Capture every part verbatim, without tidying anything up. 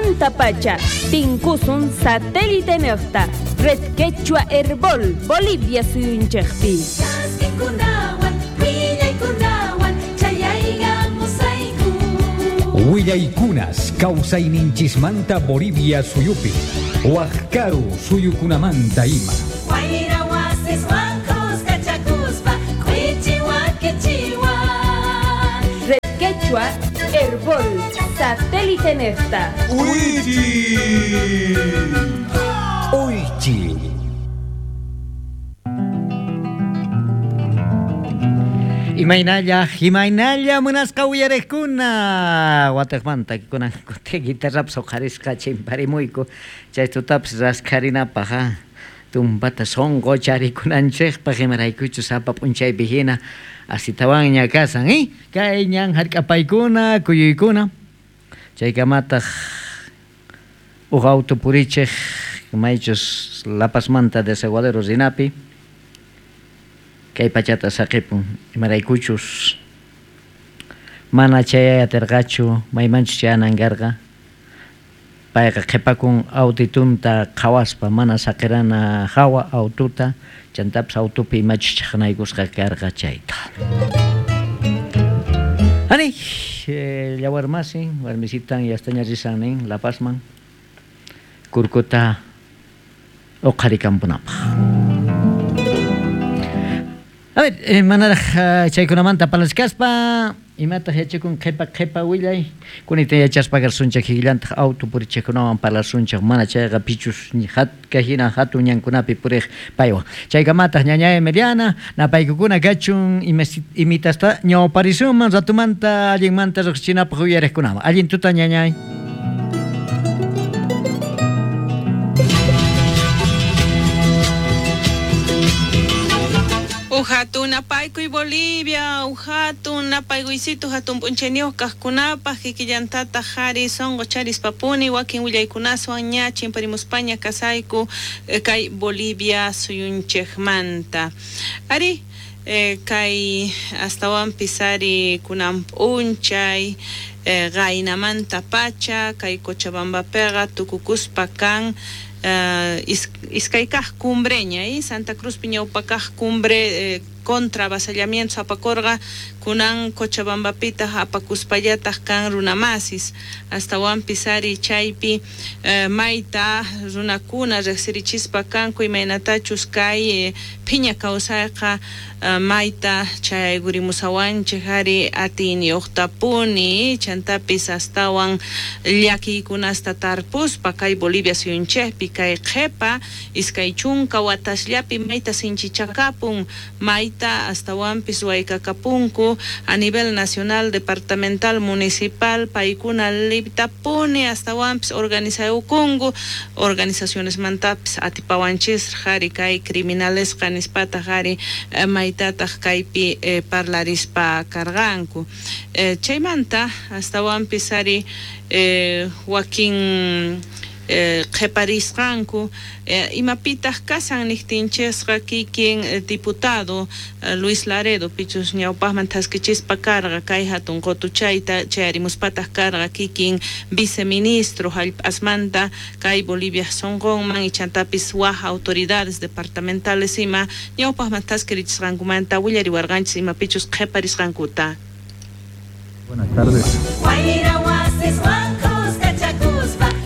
Manta pacha, tinkusun satélite nejta, Red Quechua Herbol, Bolivia suyunchejpi. Willaykunas kawsayninchismanta Bolivia suyupi, Wajkaru suyukunamanta ima. Red Quechua Herbol, satélite nefta. Uichi. Uichi. Imaynalla, imaynalla munasqa uyariqkuna wataqmanta kunan kuti guitarrapas uqharisqa chimparimuyku chay tutapas raskharinapaq ha tumpata sunqu charikunanchikpaq imaraykuchus sapa p'unchaypi hina asitawanña kasan eh kay ñan hark'apaykuna kuyuykuna chaykamataq uq auto purichiq maychus La Pazmanta Desaguadero rinapi kay pachata saqipun imaraykuchus mana chayay atirqachu maymanchus chayanan karqa payqa qhipakun autitunta qhawaspa mana saqirana hawa aututa chantapas autupi imachus chaqnaykusqa karqa chayta. Ani eh, llawarmasin warmisitan yastaña risan nin La Pazman kurkuta uqharikampunapaq. A ver, eh, manaraj chaykunamanta parlachkaspa imataq yachakun qhipa qhipa willay kunita yachaspa karsunchik hillantaq auto purichikkunawan parlasunchik mana chayqa pichus hatka hina hatun ñankunapi puriq paywan chaykamataq ñañay Emiliana napaykukuna kachun imitasta ñawparisunman ratumanta allinmanta riqsichinapaq uyariqkunaman allin tuta ñañay. Hatun napaykuy Bolivia, hatun napaykuysitu hatun p'unchayniyuq kaqkunapaq kikillantataq qhari sunqu charispapuni wakin willaykunaswan ña chimparimuspaña kasayku kay Bolivia suyunchikmanta. Ari eh, kay astawanpis ari kunan p'unchay eh, qaynamanta pacha kay Cochabambapiqa tukukuspa kan Uh, iskay kaq cumbreña eh? Santa Cruz ñawpa kaq cumbre eh, contra avasallamientos apakorqa kunan Cochabambapitaq apakuspallataq kan runamasis astawanpis ari chaypi eh, mayta runakuna riqsirichispa kanku imaynatachus kay eh, phiña kawsayqa eh, mayta chayaykurimusawanchik ari atiyniyuqtapuni chantapis astawan llakiykunasta tarpuspa kay Bolivia suyunchikpi kay qhipa iskay chunka watasllapi mayta sinchichakapun mayta astawanpis waykakapunku a nivel nacional, departamental, municipal, paykuna liptapuni astawanpis organizayukunku organizaciones mantapis atipawanchisraq ari kay criminalesqa nispataq ari eh, maytataq kaypi eh, parlarispa karqanku eh, chaymanta astawanpis ari eh, wakin Eh, qhiparisqanku eh, imapitaq kasan niqtinchisqa kikin eh, diputado eh, Luis Laredo pichus ñawpaqman thaskichispa karqa kay hatun qutuchayta chayarimuspataq karqa kikin viceministro hallp'asmanta kay Bolivia sunqunman ichantapis waj autoridades departamentales ima ñawpaqman thaskirichisqankumanta willariwarqanchis imapichus qhiparisqankuta. Buenas tardes.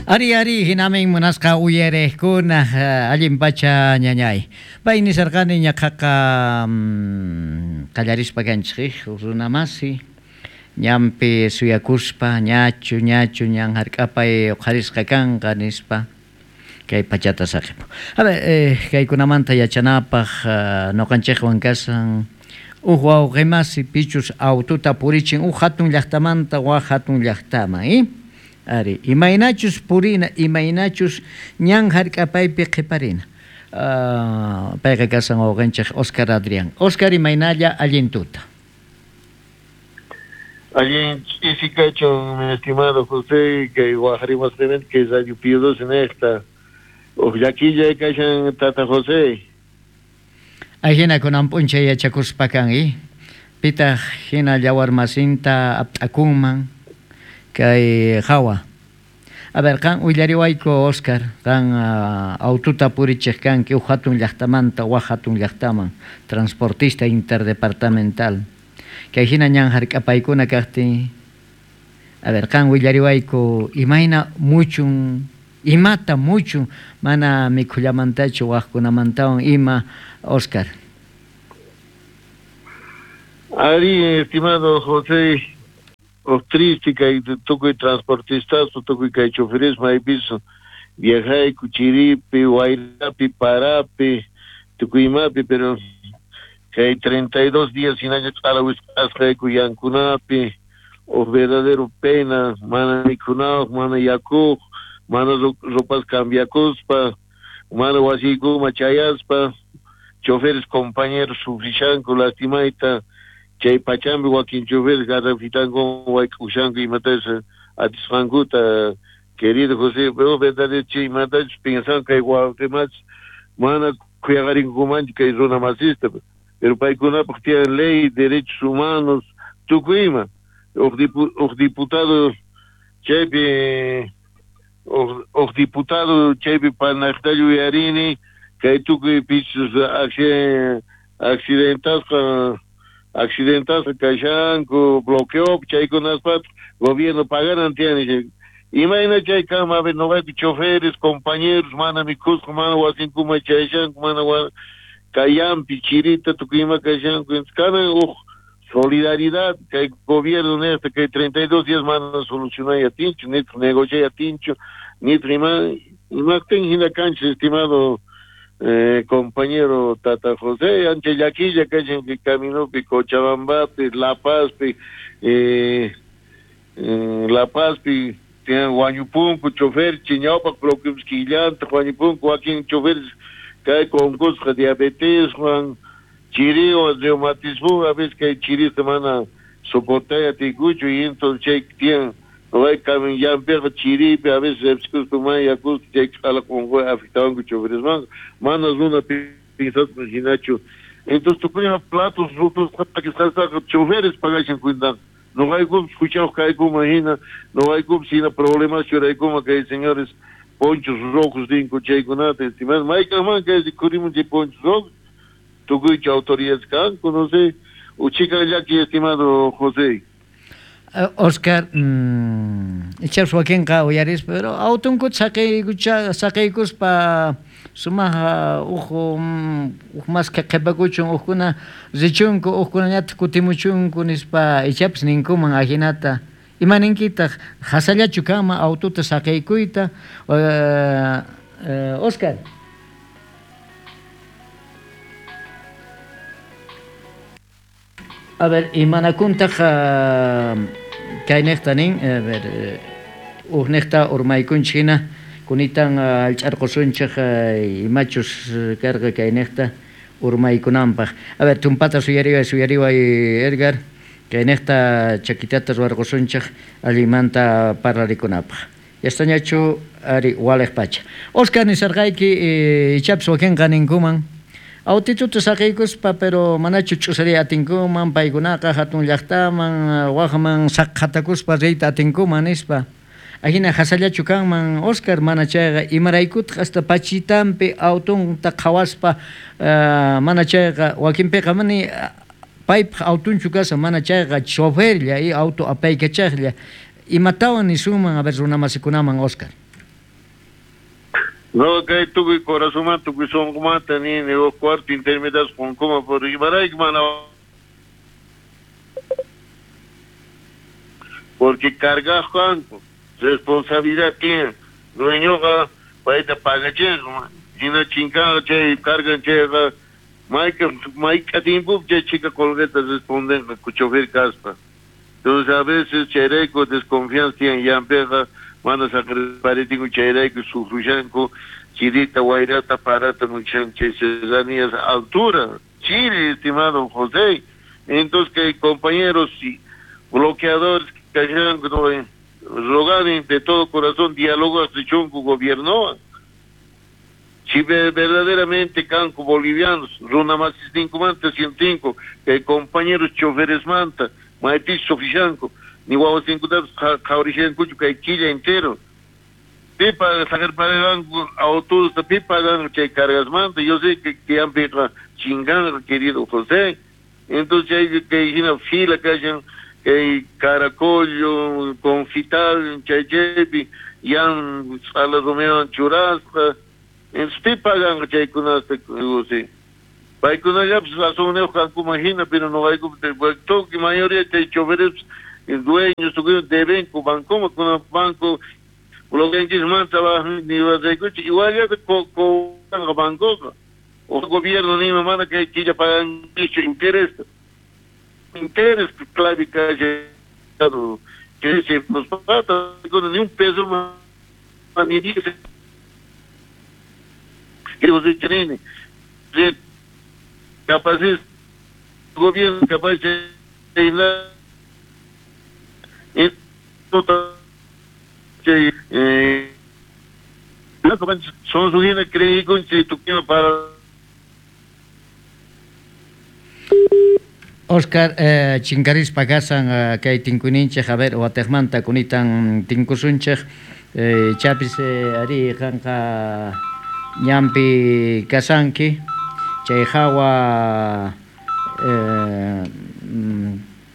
Ari ari hinamin munasqa uyariqkuna allin pacha ñañay. Pay nisarqani ñaqaqa qallarispa kanchik runamasi ñanpi suyakuspa ñachu ñachu ñan hark'apay uqharisqa kanqa nispa kay pachata saqipu. A ver, eh, kaykunamanta yachanapaq ñuqanchikwan kasan uj wawqimasi pichus aututa purichin uj hatun llaqtamanta waj hatun llaqtaman, eh? Ari, imaynachus purina, imaynachus ñan hark'apaypi qhiparina. Uh, payqa kasan wawqinchik Oscar Adrián. Oscar, imaynalla allin tuta. Allin ch'isi kachun, mi estimado José, kay waqrimasqimanta kay Radio Pío doce nesta. Uj llakilla kashan tata José. Ajina kunan p'unchay yachakuspa kan, eh? Pitaq hina llawarmasinta apt'akunman kay hawa. A ver, qan willariwayku Oscar, qan uh, aututa purichej kanki uj hatun llaqtamanta waj hatun llaqtaman, transportista interdepartamental. Kay hina ñan hark'apaykuna kaqtin. A ver, qan willariwayku imayna muchun, imata muchun mana mikhullamantachu wajkunamantawan ima, Oscar. Ari, estimado José, o triste que tukuy transportistas, tukuy kay choferes maypis viajayku chiripi, wayrapi, parapi, tukuymapi, pero kay treinta y dos días hinaña q'alawisqasqayku yankunapi, o verdadero pena, mana mikhunawaq, mana yakuq, mana ropas cambiakuspa, mana wasiykuma chayaspa, choferes compañeros sufrishanku lastimayta, chay pachambi wakin choferes garrafitanku wayk'ushanku imatachus atisqankuta. Querido José, pero verdadero chay imatachus pensan kay wawqimachus mana khuyaqarinkumanchu kay runa masista, pero paykunapaq tiyan ley, derechos humanos, tukuy ima. Uj diputado chaypi, uj diputado chaypi panaqta yuyarini kay tukuy pichus accidentasqa accidentasqa kashanku, bloqueo chaykunaspa gobierno pagaran tiyan. Imayna chay kanman, a ver, noqayku choferes, compañeros, mana mikhusqa, mana wasinkuma chayshanku, mana kayampi, chirita, tukuy ima kashanku. Kanan uj solidaridad kay gobierno nesta kay treinta y dos días mana solucionay atinchu, nitaq negociay atinchu, nitaq ima imaqtin hina kanchis, estimado eh, compañero Tata José, ancha llakilla kashan kay caminopi, Cochabambapi, La Pazpi, eh, eh, La Pazpi, tienen wañupunku chofer, chiñawpaq bloqueos killanta, wañupunku wakin choferes kay concusqa diabeteswan, chiriwan, reumatismo, a veces kay chirista mana soportay atikuchu, y entonces chay tienen way kamin yampiqa chiripi, a veces epsikuspa mana yakuspa chay q'alaq unquy afectawanku choferesmanqa, mana runa pinsaspa hinachu. Entonces tukuyma platos rotos p'akisqastaqa choferes pagashan cuentanqa. Noqaykupis huchayuq kaykuma hina, noqaykupis hina problemas churaykuma kay señores ponchos rojos ninku chaykunata, estimado, maykaqman kay rikhurimun chay ponchos rojos, tukuychu autoridades kanku, no sé, uchika llaki, estimado José. Uh, Oscar, mmm, ichapas wakinqa uyarispa, pero autunkuta saqiykucha saqiykuspa sumaq uj uj maskha qhipakuchun, ujkuna richunku, ujkunañataq kutimuchunku nispa ichapas ninkuman ajinata. Ima ninkitaq hasallachu kanman aututa saqaykuyta, uh, uh, Oscar? A ver, imanakuntaq uh, kayniqta nin, a ver, ujniqta urmaykunchik hina kunitan allch'arqusunchik imachus karqa kayniqta urmaykunanpaq. A ver, tumpata suyariway, suyariway Edgar, kayniqta chakitata ruwarqusunchik allinmanta parlarikunapaq. Yastañachu ari waliq pacha. Oscar nisarqayki ichapas wakinqa ninkuman autituta saqiykuspa, pero manachu ch'usariy atinkuman paykunaqa hatun llaqtaman waqman saqhatakuspa riyta atinkuman nispa. Ajina hasallachu kanman Oscar, mana chayqa imaraykutaq hasta pachitanpi autunta qhawaspa uh, mana chayqa wakinpiqa mani paypaq autunchu kashan, mana chayqa choferlla y auto apaykachaqlla. Imatawan nisunman a ver runamasikunaman, Oscar? No, kay tukuy corazonmanta, tukuy sunqumanta nini huk cuarto intermedias qunkuman por imarayku mana, porque cargaq kanku, responsabilidad tienen, dueñoqa payta pagachinqa, hina chinkanqa chay cargan chayqa mayka mayk'a tiempopi chay chika qolqeta respondenqa chofer kaspa. Entonces a veces chayrayku desconfianza tiyan yampiqa, mana saqirparitinku chayrayku sufrishanku chirita, wayrata, parata muchan chay serranías altura, Chile, estimado José. Entonces que compañeros y bloqueadores kashanku, no, roganen de todo corazón diálogo chunku gobierno. Si verdaderamente kanku bolivianos, runa masisninkumanta sientinku, que compañeros choferes manta, maypis sufrishanku, ni wawasinkutapis qhawrishankuchu kay killa entero. Pipa saqerparirqanku autobusta pi pagan chay cargasmanta. Yo sé que que chingan, querido José. Entonces chay kay hina fila kashan kay Caracollo, Confital, chay chaypi yan ch'ala rumiwan churasqa. Entonces pi pagan chaykunasta, José. Paykunallapis razunniyuq kankuman hina, pero noqayku tukuy mayoría chay choferes dueños tukuy debenku bancoman kunan banco bloqueanchismanta niwaraykuchik igual cobranqa bancoqa o gobierno nima mana kay killa pagankichu interés interés clave que se nos pata ni un peso más ni dice que você tiene capaz es gobierno capaz de la eh son su creí con para Oscar, eh, chinkarispa kasan eh, kay tinkuninchej, a ver, watejmanta kunitan tinkusunchej, eh, chapis eh, ari qanqa ñanpi kasanki, chay hawa eh,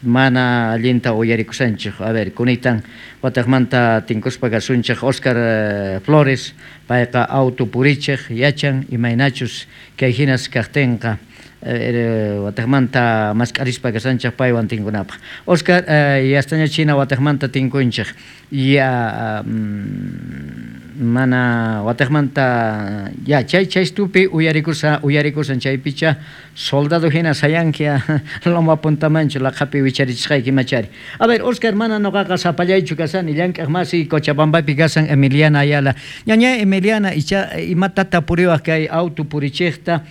mana allinta uyarikusanchej. A ver, kunitan watejmanta tinkuspa kasunchej Oscar eh, Flores, payqa auto purichej, yachan imaynachus kay hinas kaqtinqa. Eh, watejmanta mask'arispa kasanchej paywan tinkunapaq. Oscar, eh, yastaña china watejmanta tinkunchej. Ya mm, mana watejmanta ya chay chaystupi uyarikusa uyarikusan chaypicha soldado hina sayankia loma puntamanchu laqhapi wicharichisqayki machari. A ver, Oscar, mana noqaqa sapallaychu kasani llank'aq masi Cochabambapi kasan Emiliana Ayala. Ñaña Emiliana icha imatata puriwaq kay auto purichejta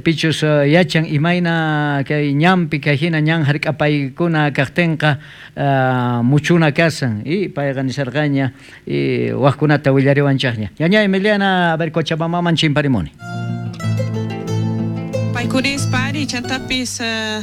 pichus uh, yachan imayna kay ñanpi kay hina ñan hark'apaykuna kaqtinqa uh, muchuna kasan y payqa nisarqaña y waqkunata willariwanchaqña. Ñaña Emiliana, a ver, Cochabambaman chimparimuni. Paykurispa ari chantapis uh,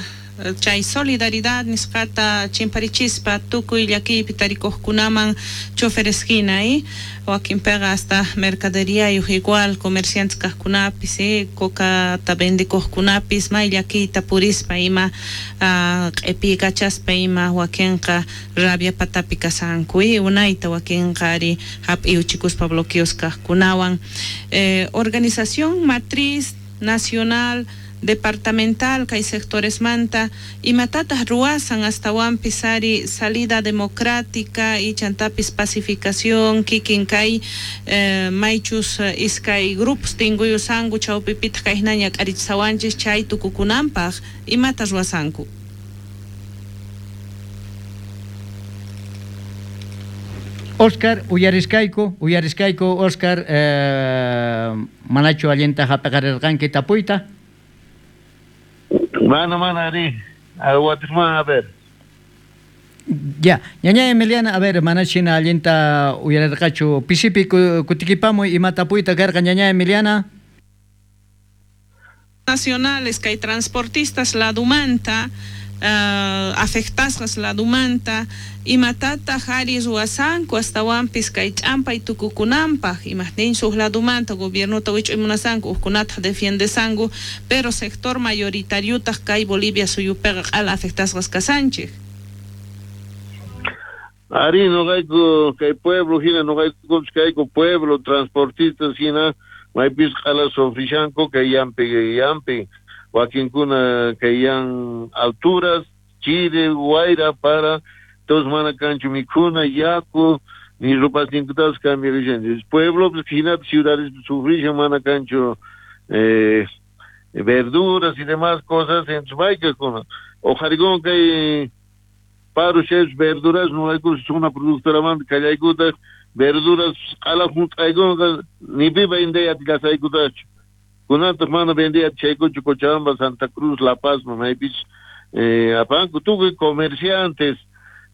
chay solidaridad nisqata chimparichispa tukuy llakiypi tarikuqkunaman choferes hina eh? Wakinpiqa hasta mercaderiyayuq igual comerciantes kaqkunapis eh? Cocata vendikuqkunapis may llakiyta purispa ima uh, q'ipikachaspa ima wakinqa rabia patapi kasanku eh? Unayta wakinqa ari hap'iyuchikuspa bloqueos kaqkunawan eh, organización matriz nacional departamental kay sectores manta imatataq ruwasan astawanpis ari salida democrática y chantapis pacificación kikin kay eh, maychus iskay grupos tinkuyusanku chawpipitaq kayhinaña k'arichisawanchis chay tukukunanpaq imata ruwasanku. Oscar, uyariskayku, uyariskayku Oscar, eh, manachu allinta hap'aqarirqanki tapuyta? Mana, mana, ari, a ver. Ya, ñaña Emiliana, a ver, manachina allinta uyarirqachu pisipi kutikipamuy ima tapuyta karqa ñaña Emiliana. Nacionales kay transportistas ladumanta uh, afectasqas ladumanta imatataq ari ruwasanku astawanpis kay ch'ampay tukukunanpaq imaqtinchus huk ladumanta gobiernota wich'uymunasanku hukkunataq defiendesanku pero sector mayoritariotaq kay Bolivia suyupiqa q'ala afectasqas kasanchik. Ari noqayku kay pueblo hina noqayku kayku pueblo transportistas hina maypis q'ala sufrishanku kay yampi yampi wakinkuna kay yan alturas chiri wayra para todos mana kanchu mikhuna yaku ni rupasninkutapas cambiarishanchis pueblo pues hina ciudades sufrishan mana kanchu eh, verduras y demás cosas en su kuna ojarikun kay paro chefs verduras no hay una productora man kallaykuta verduras q'ala hunt'aykunqa ni pi vendey atillashaykutachu kunataq mana vendey atishaykuchu Cochabamba, Santa Cruz, La Paz, maypis eh, apanku tukuy comerciantes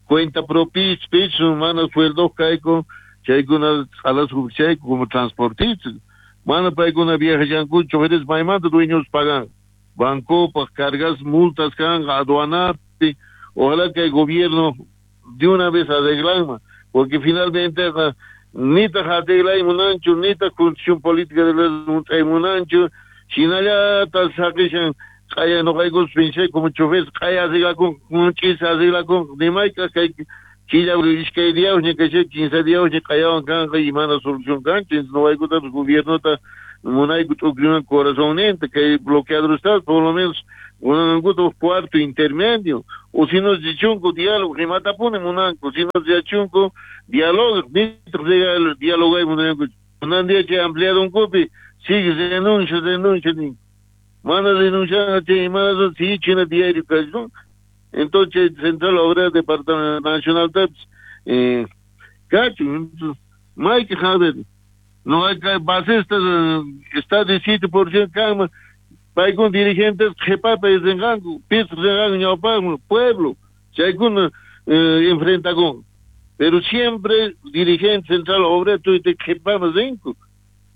cuenta propis pichu mana sueldo kayku chaykuna q'alas chayku como transportistas mana paykuna viajallankuchu choferes maymanta dueños pagan bancopaq cargas multas kanqa aduanapi. Ojalá que el gobierno de una vez arreglanma, porque finalmente Nitaq arreglay munanchu, nitaq constitución política de la munanchu, shinallata saqishan q'aya noqaykus pensé como chofer q'aya arreglakun, ch'isa arreglakun, nimayka kay killa iskay diyawña kashan, kinsa diyawña q'ayawan kanqa y mana solución kanchu, entonces noqaykutapis gobiernota munayku t'ukriman corazonninta, kay bloqueador está, por lo menos munankuta uj cuarto intermedio, o si no richunku diálogo, rimatapuni munanku, si no richunku diálogo, nitaq dialogay munanku, munan día chay empleadonkupi sigue renuncia, renuncia ninku, mana renuncian chay mana sigue diario kachun. Entonces Central Obrera Departamento Nacional taps eh kachun, mayki jaber no hay que basista está de siete por ciento kanman, paykuna dirigentes qhipapa rinqanku, pis rinqanku ñawpaqman, pueblo, chaykuna eh, enfrentakun. Pero siempre dirigente Central Obrera tuyta qhipama rinku.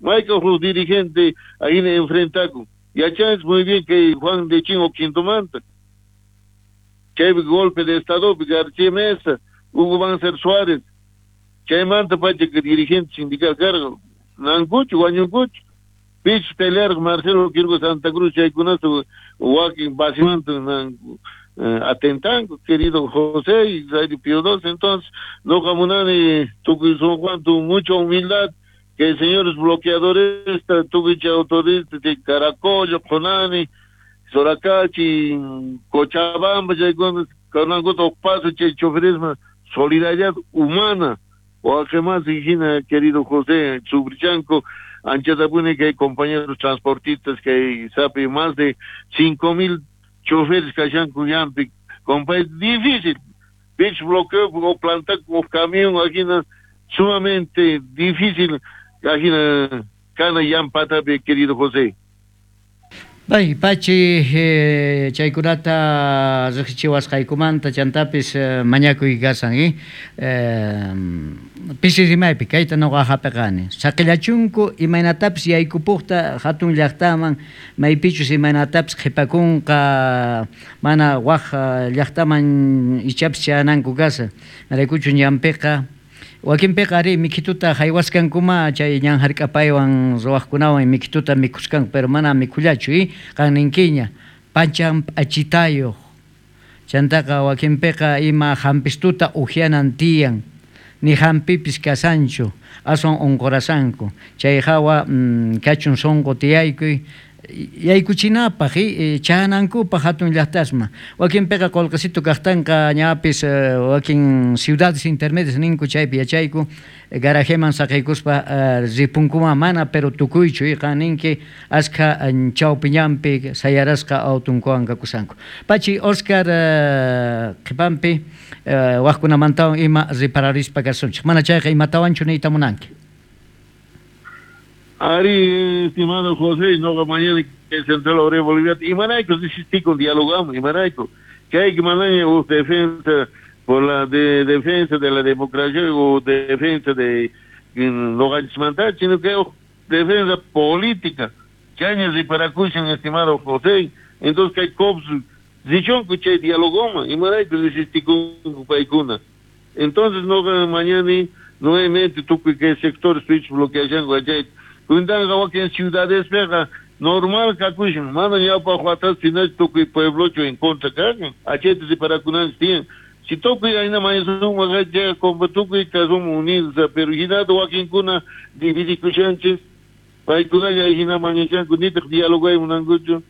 Mayka huk dirigente ahí enfrentakun. Yachanchis muy bien que Juan de Chingo Quintomanta, chaypi golpe de Estado, García Mesa, Hugo Banzer Suárez, chaymanta pacha que dirigente sindical cargo, nankuchu, wañunkuchu. Pich pelear Marcelo Quiroga Santa Cruz, chaykunata wakin basimanta nanku eh, atentanku, querido José y Radio Pío doce. Entonces, noqa munani tukuy sunqu tu mucha humildad, que señores bloqueadores, tukuy chay autoridades de Caracollo, Qonani, Soracachi, Cochabamba, chaykuna kanankuta uj paso chay choferismo, solidaridad humana, waqemás hina, querido José, Subrichanco, anchatapuni que hay compañeros transportistas que hay, sabe, más de cinco mil choferes kashanku ñanpi, compa, difícil, pich bloqueo o plantar o camión ajina sumamente difícil ajina kana llampatapi, querido José. Bay, Pachi, eh, chaykunata riqsichiwasqaykumanta chantapis eh, mañakuy kasan, eh? Eh, pisi rimaypi kayta noqa hap'iqani. Saqillachunku imaynatapis yaykupuqta hatun llaqtaman, maypichus imaynatapis qhipakunqa, mana waj llaqtaman ichapis chayananku kasa. Maraykuchu ñanpiqa wakinpiqa ari mikhituta haywasqankuma chay ñan hark'apaywan ruwaqkunawan mikhituta mikhusqanku, pero mana mikhullachu, eh? Qan ninkiña pachan p'achitayuq, chantaqa wakinpiqa ima hampistuta uhianan tiyan, ni hampipis kasanchu, aswan unqurasanku, chay hawa mm, kachun sunqu tiyaykuy yaykuchinapaq, eh, chanankupaq hatun llaqtasma. Wakinpiqa qullqisitu kaqtanqa ñapis eh, wakin ciudades intermedias ninku chaypi yachayku, garajeman saqiykuspa eh, ripunkuma mana, pero tukuychu, eh, qan ninki askha chawpi ñanpi sayarasqa autunkuwan kakusanku. Pachi Oscar eh, qhipanpi eh, waqkunamantawan ima ripararispa kasunchik. Mana chayqa imatawanchu niyta munanki? Ari, estimado José, no mañana que Central Obrera Boliviana, y manaico, si con dialogamos, y manaico, que hay que mandar o defensa por la de, defensa de la democracia o defensa de no ganchmantar, sino que defensa política, que años y para cuchen, estimado José, entonces que hay cops, dichón que che dialogoma, y manaico, si con paicuna. Entonces no mañana nuevamente tú que sector switch bloqueación guachay. Kundan wakin ciudades pega normal kakushin, mana ñawpaq watas sinachu tukuy pueblochu en contra kakan, achete de parakunan tiyan. Si tukuy ayna mañasun waqacha compa tukuy kasum unidos, pero hinata wakinkuna dividikushanchis, paykunalla hina mañashanku nitaq dialogay munankuchu.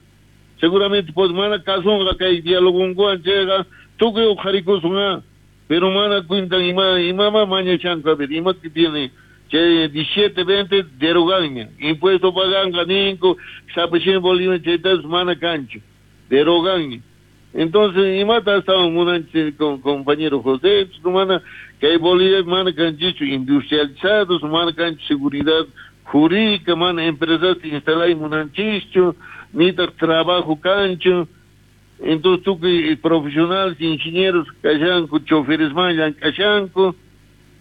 Seguramente pues mana kasunqa kay dialogunkuwan chayqa tukuy uqharikusun, pero mana cuentan ima imama mañashanku, a ver, ima que tiene che diecisiete veinte deroganña, impuesto paganqa ninku, sapachin Bolivia chaytas mana kanchu, deroganña. Entonces, imata estaban munanchis con compañero José, mana que Bolivia mana kanchichu industrializados, mana kanchu seguridad jurídica, mana empresas instalay munanchischu, nitaq trabajo kanchu. Entonces, tukuy profesionales, ingenieros kashanku, choferes man llank'ashanku.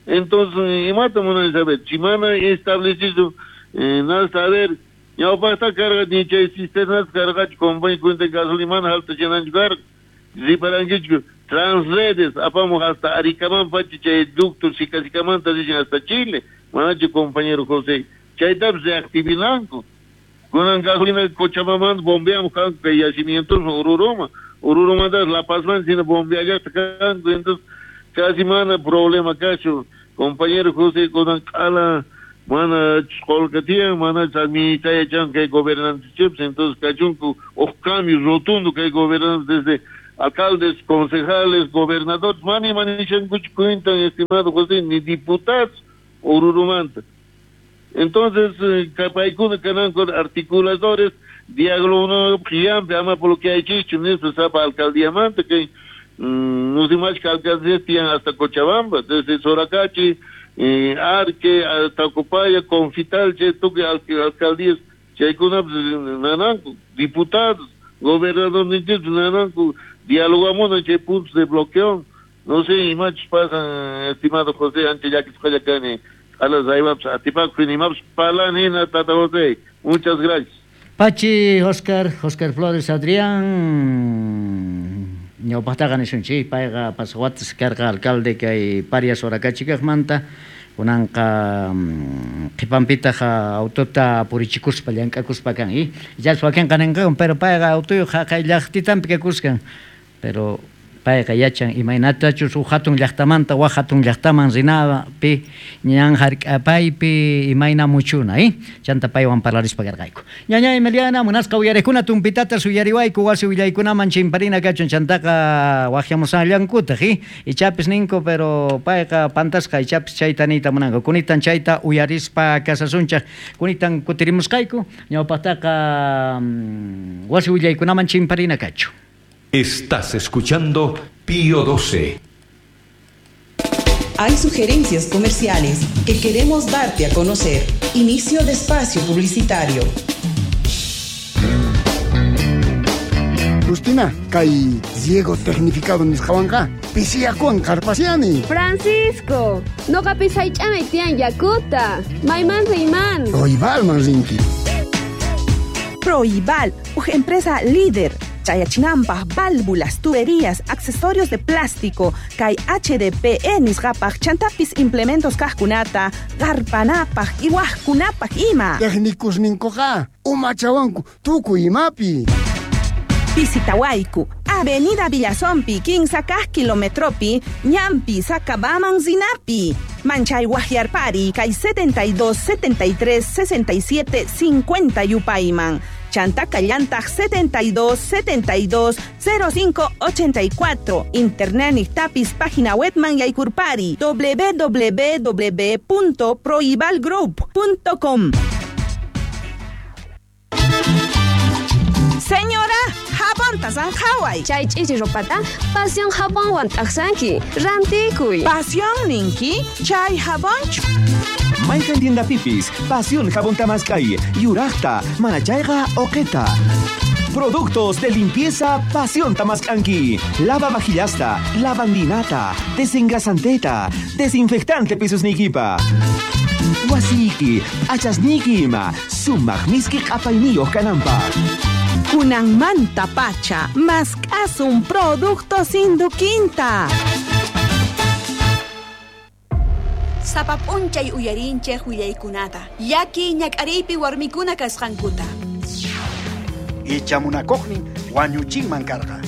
Entonces, imata munan saber, si mana establecido, eh, nada saber, ñawpaqta carga ni chay cisternas cargachu compañía cuenta gasolina mana alta llenanchu carga, riparankichu transredes, apamos hasta Aricaman pachi chay ducto, Sicasicamanta dicen hasta Chile, Manachu compañero José, chaytapis reactivinanku. Kunan gasolina Cochabamba bombeamos kanku kay yacimientos Oruroma, Oruromanta La Pazman sino bombeallaqta kanku, entonces casi mana problema kachu. Compañero José, kunan q'ala mana qolqa tiyan, mana administrayachan kay gobernantes chips, entonces kachunku uj cambio rotundo kay gobernantes desde alcaldes, concejales, gobernadores, mani manishankuchu cuentan, estimado José, ni diputados Oruromanta. Entonces, paykuna kananku articuladores, diálogo qiyampi ama por lo que hay chichu, nispa sapa alcaldíamanta kay no sé más que alcaldías tiyan hasta Cochabamba, desde Soracachi, eh, Arque, Tacopaya, Confital, che, tukuy alcaldías, chaykuna nananku, diputados, gobernadores nananku, dialogamos chay puntos de bloqueo. No sé, imachus pasan, estimado José, ancha llakisqalla kani, alas aymapas atipakuq imapas palanina, tata José. Muchas gracias. Pachi, Oscar, Oscar Flores, Adrián, ñawpaqtaqa nisunchik, payqa pasaq karqa alcalde kay Parias Soracachikaqmanta, kunanqa qhipanpitaq autota purichikuspa llank'akuspa kan, y ichapas wakinqa ninqaku, pero payqa autoyuq haqay llaqtitanpi kakuskan, pero payqa yachan imaynatachus huk hatun llaqtamanta wak hatun llaqtaman rinapi ñan hark'apaypi imayna muchuna, eh? Chanta paywan parlarispa karqayku. Ñaña Emiliana, munasqa uyariqkuna tumpitata suyariwayku wasi willaykunaman chimparina kachun chantaqa waqyamusallankutaq, eh? Ichapis ninku, pero payqa pantasqa ichapis chayta niyta munanku. Kunitan chayta uyarispa kasasunchaq, kunitan kutirimusqayku, ñawpaqtaqa wasi willaykunaman chimparina kachu. Estás escuchando Pío doce. Hay sugerencias comerciales que queremos darte a conocer. Inicio de espacio publicitario. Justina, kay Diego tecnificado nisqawanqa pisiyakuwan qarpasiani. Francisco, noqapis haych'anay tiyan yakuta. Mayman riyman. Proibalman rinki. Proibal, una empresa líder. Chayachinampaj, válvulas, tuberías, accesorios de plástico, kay H D P E nisqapaj, chantapis implementos kajkunata, qarpanapaj, iwajkunapaj ima. Técnicos ninkuqa, umachawanku, tukuy imapi. Visitawayku, Avenida Villazompi, quince kilometropi, Ñampi, Sacabaman, Zinapi. Manchay Guajiarpari, kay setenta y dos, setenta y tres, sesenta y siete, cincuenta Yupayman. Chantaca Llantaj setenta y dos, setenta y dos, cero cinco, ochenta y cuatro. Internet Nictapis, página webman Yaycurpari, doble u doble u doble u punto proibalgroup punto com. Señora, jabón tasan Hawaii. Chay ch'ichi ropata, pasión jabonwan t'aqsanki, rantikuy. Pasión ninki, chay jabonchu. Mayqan tienda pipis, Pasión Jabón Tamaskay, Yurajta, Manachayqa, Oqueta. Productos de limpieza Pasión Tamaskanki. Lava vajillasta, lavandinata, desengrasanteta, desinfectante pisos nikipa. Wasiki, achasniki ima, sumaq miski q'apayniyuq kananpaq. Kunanmanta pacha, mask'asun productos Induquinta. Sapap'unchay uyarinchej willaykunata, llaki ñak'ariypi warmikuna kasqankuta. Ichamunakuqnin wañuchinman karqa.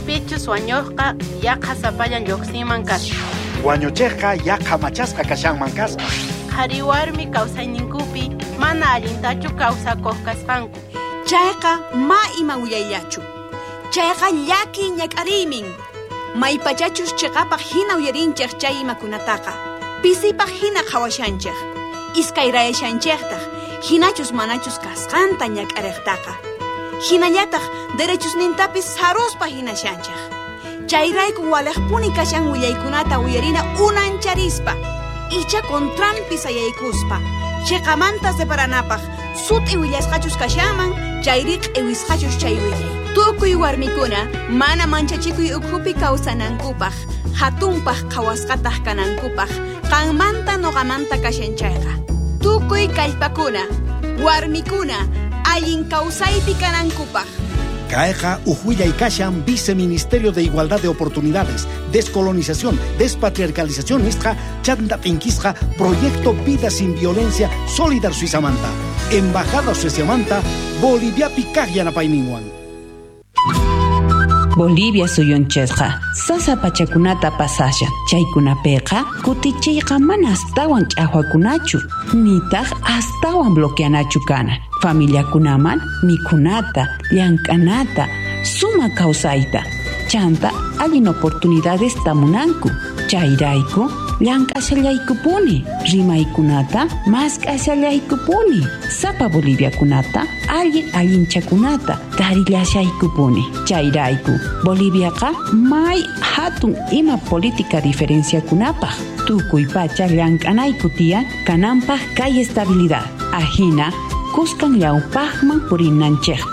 Pichus wañuqqa yaqa sapallan lluqsinman kasqa. Wañuchiqqa yaqa machasqa kashanman kasqa. Qhari warmi kawsayninkupi mana allintachu kawsakuq kasqanku. Chayqa ma ima willayllachu. Chayqa llaki ñak'ariymin. Maypachachus chiqapaq hina uyarinchej chay imakunataqa. Pisipaq hina qhawashanchej. Iskayrayashanchejtaq, hinachus manachus kasqanta ñak'ariqtaqa. Hinallataq derechusnintapis saruspa hinashanchej. Chayrayku walejpuni kashan willaykunata uyarina unancharispa. Icha contranpi sayaykuspa. Chiqamanta separanapaq, sut'i willasqachus kashanman, chayri q'iwisqachus chay willay. Tukuy warmikuna mana manchachikuy ukhupi kawsanankupaq, hatunpaq qhawasqataq kanankupaq, qanmanta noqamanta kashan chayqa. Tukuy kallpakuna, warmikuna, allin kawsaypi kanankupaq. Kayqa uj willay kashan Viceministerio de Igualdad de Oportunidades, Descolonización, Despatriarcalización nisqa chanta t'inkisqa Proyecto Vida Sin Violencia Solidar Suizamanta, Embajada Sueciamanta, Boliviapi kaq yanapayninwan. Bolivia suyunchikqa sasa pachakunata pasashan chaykunapiqa kutichiyqa mana astawan ch'aqwakunachu nitaq astawan bloqueanachu kana familiakunaman mikhunata llank'anata sumaq kawsayta chanta allin oportunidades tamunanku chayrayku llank'ashallaykupuni rimaykunata mask'ashallaykupuni sapa boliviakunata allin allinchakunata tarillashaykupuni chayrayku Boliviaqa may hatun ima política diferenciakunapaq tukuy pacha llank'anayku tiyan kananpaq kay estabilidad ajina kuskan ñawpaqman purinanchikpaq.